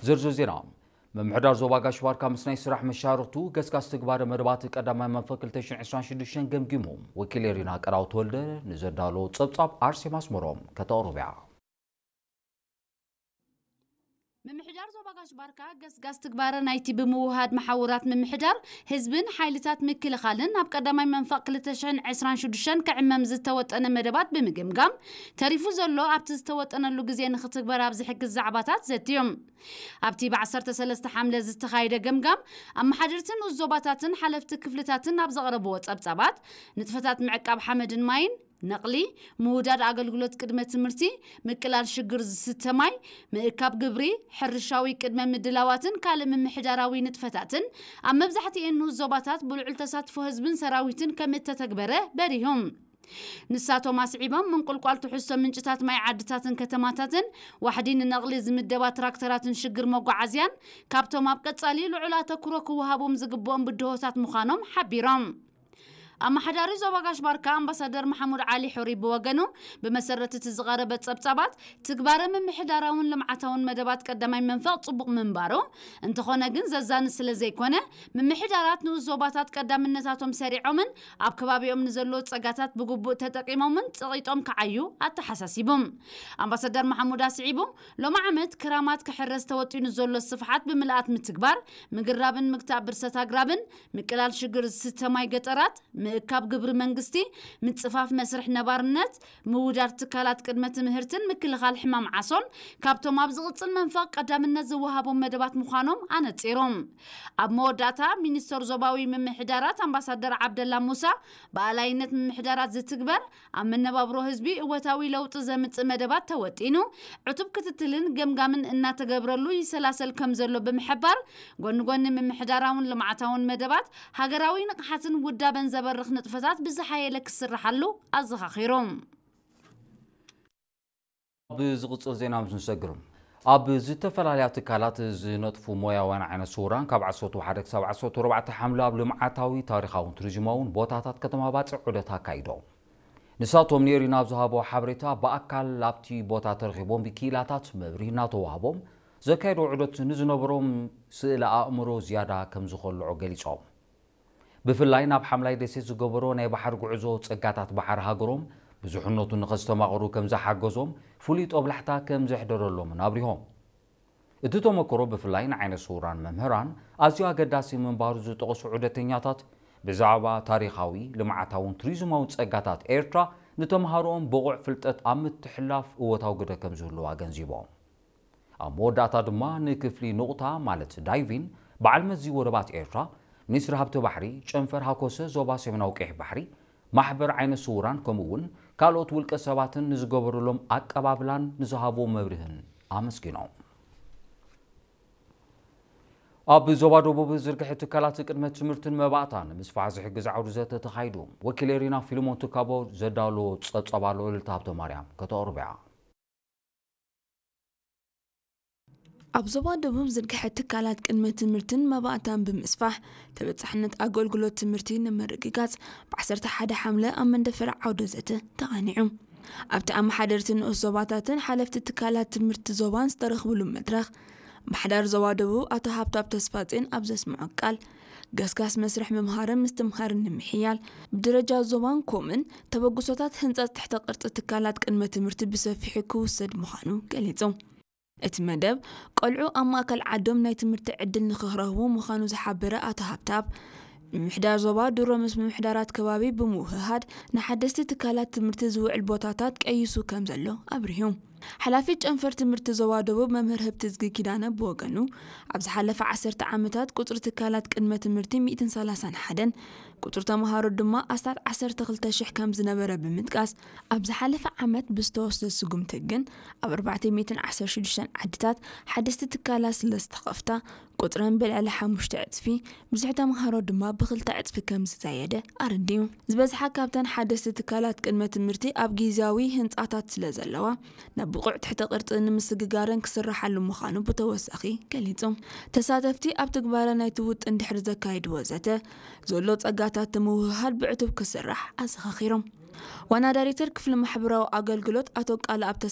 ዝርዝር ዜና። ምምሕዳር ዞባ ጋሽ ባርካ ምስ ናይ ስራሕ መሻርኽቱ ገስጋስ ትግባረ መደባት ቀዳማይ መንፈቅ ክልተ ሽሕን ዕስራን ሽዱሽተን ገምጊሙ። ወኪል ኤሪና ቀዳው ተወልደ ንዘዳሎ ጸብጻብ ኣርሴማ ኣስመሮም ከተቕርብያ። ምምሕዳር ዞባ ጋሽ ባርካ ገስጋስ ትግባረ ናይቲ ብምውሃድ መሓውራት ምምሕዳር ህዝብን ሓይልታት ምክልኻልን ኣብ ቀዳማይ መንፈቕ ክልተ ሽሕን ዕስራን ሽዱሽተን ክዕመም ዝተወጠነ መደባት ብምግምጋም፣ ተሪፉ ዘሎ ኣብቲ ዝተወጠነሉ ግዜ ንኽትግበር ኣብ ዝሕግዝ ዛዕባታት ዘትዮም። ኣብቲ ብ ዓሰርተ ሰለስተ ሓምለ ዝተኻየደ ገምጋም፣ ኣመሓደርቲ ንኡስ ዞባታትን ሓለፍቲ ክፍልታትን ኣብ ዘቕረብዎ ጸብጻባት፣ ንጥፈታት ምዕቃብ ሓመድን ማይን፣ ነቕሊ፣ ምውዳድ ኣገልግሎት ቅድመ ትምህርቲ፣ ምቅላል ሽግር ዝስተ ማይ፣ ምእካብ ግብሪ፣ ሕርሻዊ ቅድመ ምድላዋትን ካልእ ምምሕዳራዊ ንጥፈታትን ኣብ መብዛሕትኤን ንኡስ ዞባታት ብልዑል ተሳትፎ ህዝብን ሰራዊትን ከም እተተግበረ በሪሆም። ንሳቶም ኣስዒቦም፣ ምንቁልቋል ትሕዝቶ ምንጭታት ማይ ዓድታትን ከተማታትን፣ ዋሕዲ ንነቕሊ ዝምደባ ትራክተራትን ሽግር መጓዓዝያን ካብቶም ኣብ ቀጻሊ ልዑል ኣተኩሮ ክወሃቦም ዝግብኦም ብድሆታት ምዃኖም ሓቢሮም። ኣመሓዳሪ ዞባ ጋሽ ባርካ ኣምባሳደር መሓሙድ ዓሊ ሑሪ ብወገኑ፣ ብመሰረት እቲ ዝቐረበ ጸብጻባት፣ ትግባረ ምምሕዳራውን ልምዓታውን መደባት ቀዳማይ መንፈቕ ጽቡቕ ምንባሩ፣ እንተኾነ ግን ዘዛኒ ስለ ዘይኮነ፣ ምምሕዳራት ንኡስ ዞባታት ቀዳምነታቶም ሰሪዖምን ኣብ ከባቢኦም ንዘለዉ ጸጋታት ብግቡእ ተጠቂሞምን ጸቒጦም ክዓዩ ኣተሓሳሲቡ። ኣምባሳደር መሓሙድ ኣስዒቡ፣ ሎሚ ዓመት ክራማት ክሕረስ ተወጢኑ ዘሎ ስፍሓት ብምልኣት ምትግባር፣ ምግራብን ምግታእ ብርሰት ኣግራብን፣ ምቅላል ሽግር ዝስተ ማይ ገጠራት፣ ምእካብ ግብሪ መንግስቲ፣ ምጽፋፍ መስርሕ ነባርነት፣ ምውዳድ ትካላት ቅድመ ትምህርትን ምክልኻል ሕማም ዓሶን ካብቶም ኣብ ዝቕጽል መንፈቕ ቀዳምነት ዝወሃቦም መደባት ምዃኖም ኣነጺሮም። ኣብ መወዳእታ፣ ሚኒስተር ዞባዊ ምምሕዳራት ኣምባሳደር ዓብደላ ሙሳ፣ ብኣላይነት ምምሕዳራት ዝትግበር ኣብ መነባብሮ ህዝቢ እወታዊ ለውጢ ዘምጽእ መደባት ተወጢኑ፣ ዕቱብ ክትትልን ገምጋምን እናተገብረሉ ይሰላሰል ከም ዘሎ ብምሕባር፣ ጎኒ ጎኒ ምምሕዳራውን ልምዓታውን መደባት፣ ሃገራዊ ንቕሓትን ውዳበን ዘበርኽ ንጥፈታት ብዝሓየለ ክስርሓሉ ኣዘኻኺሮም። ኣብ ዝቕጽል ዜና ምስ ንሰግር፣ ኣብ ዝተፈላለያ ትካላት ዝነጥፉ ሞያውያን ዓይነ ስውራን ካብ ዓሰርተ ሓደ ክሳብ ዓሰርተ ኣርባዕተ ሓምለ ኣብ ልምዓታዊ፣ ታሪኻውን ቱሪዝማውን ቦታታት ከተማ ባጽዕ ዑደት ኣካይዶም። ንሳቶም ንኤሪና ኣብ ዝሃቦ ሓበሬታ፣ ብኣካል ኣብቲ ቦታ ተረኺቦም ብኪኢላታት መብርሂ እናተዋህቦም ዘካየዶ ዑደት ንዝነበሮም ስእለ ኣእምሮ ዝያዳ ከም ዝኸልዖ ገሊጾም። ብፍላይ ናብ ሓምላይ ደሴት ዝገበሮ ናይ ባሕሪ ጉዕዞ ጸጋታት ባሕሪ ሃገሮም ብዙሕነቱ ንኸስተማቕሩ ከም ዝሓገዞም ፍሉይ ጦብላሕታ ከም ዘሕደረሎምን ኣብሪሆም። እቲ ተመክሮ ብፍላይ ንዓይነ ስውራን መምህራን ኣዝዩ ኣገዳሲ ምንባሩ ዝጠቐሱ ዑደተኛታት፣ ብዛዕባ ታሪኻዊ፣ ልምዓታውን ቱሪዝማውን ጸጋታት ኤርትራ ንተምሃሮኦም ብቑዕ ፍልጠት ኣብ ምትሕልላፍ እወታዊ ግደ ከም ዝህልዎ ኣገንዚቦም። ኣብ መወዳእታ ድማ ንክፍሊ ኑቕታ ማለት ዳይቪን በዓል መዚ ወደባት ኤርትራ፣ ሚኒስትሪ ሃብቲ ባሕሪ፣ ጨንፈር ሃኮሰ ዞባ ሰሜናዊ ቀይሕ ባሕሪ፣ ማሕበር ዓይነ ስውራን ከምኡ እውን ካልኦት ውልቀ ሰባትን ንዝገበሩሎም ኣቀባብላን ንዝሃብዎ መብርህን ኣመስጊኖም። ኣብ ዞባ ደቡብ ዝርግሐ ትካላት ቅድመ ትምህርትን መባእታን ምስፋሕ ዝሕግዝ ዓውዲ ዘተ ተኻይዱ። ወኪል ኤሪና ፊልሞን ትካቦ ዘዳሎ ጸብጻብ ኣሎ፣ ልልታ ሃብተ ማርያም ከተቕርብያ። ኣብ ዞባ ደቡብ ዝርግሐ ትካላት ቅድመ ትምህርትን መባእታን ብምስፋሕ ተበጻሕነት ኣገልግሎት ትምህርቲ ንምርግጋጽ ብ ዓሰርተ ሓደ ሓምለ ኣብ መንደፈራ ዓውደ ዘተ ተቓኒዑ። ኣብቲ ኣመሓደርቲ ንኡስ ዞባታትን ሓለፍቲ ትካላት ትምህርቲ ዞባን ዝተረኽብሉ መድረኽ፣ ምምሕዳር ዞባ ደቡብ ኣቶ ሃብታብ ተስፋጼን ኣብ ዘስምዖ ቃል፣ ገስጋስ መስርሕ ምምሃርን ምስትምሃርን ንምሕያል፣ ብደረጃ ዞባን ኮምን ተበግሶታት ህንጸት ትሕተ ቅርጺ ትካላት ቅድመ ትምህርቲ ብሰፊሑ ክውሰድ ምዃኑ ገሊጹ። እቲ መደብ፣ ቆልዑ ኣብ ማእከል ዓዶም ናይ ትምህርቲ ዕድል ንኽረኽቡ ምዃኑ ዝሓበረ ኣቶ ሃብታብ፣ ምምሕዳር ዞባ ድሮ ምስ ምምሕዳራት ከባቢ ብምውህሃድ ንሓደስቲ ትካላት ትምህርቲ ዝውዕል ቦታታት ቀይሱ ከም ዘሎ ኣብሪሁ። ሓላፊ ጨንፈር ትምህርቲ ዞባ ደቡብ መምህር ህብትዝጊ ኪዳነ ብወገኑ፣ ኣብ ዝሓለፈ ዓሰርተ ዓመታት ቁጽሪ ትካላት ቅድመ ትምህርቲ ሚእትን ሰላሳን ሓደን፣ ቁጽሪ ተምሃሮ ድማ ኣስታት ዓሰርተ ክልተ ሽሕ ከም ዝነበረ ብምጥቃስ፣ ኣብ ዝሓለፈ ዓመት ብዝተወስደ ስጉምቲ ግን ኣብ ኣርባዕተ ሚእትን ዓሰርተ ሽዱሽተን ዓድታት ሓደስቲ ትካላት ስለ ዝተኸፍታ፣ ቁጽረን ብልዕሊ ሓሙሽተ ዕጽፊ፣ ብዝሒ ተምሃሮ ድማ ብኽልተ ዕጽፊ ከም ዝዛየደ ኣረዲኡ። ዝበዝሓ ካብተን ሓደስቲ ትካላት ቅድመ ትምህርቲ ኣብ ግዝያዊ ህንጻታት ስለ ዘለዋ፣ ናብ ብቑዕ ትሕተ ቅርጺ ንምስግጋረን ክስርሓሉ ምዃኑ ብተወሳኺ ገሊጹ። ተሳተፍቲ ኣብ ትግባረ ናይቲ ውጥን ድሕሪ ዘካየድዎ ዘተ፣ ዘሎ ጸጋታት ንምውህሃድ ብዕቱብ ክስራሕ ኣዘኻኺሮም። ዋና ዳይሬክተር ክፍሊ ማሕበራዊ ኣገልግሎት ኣቶ ቃልኣብ ተስፋ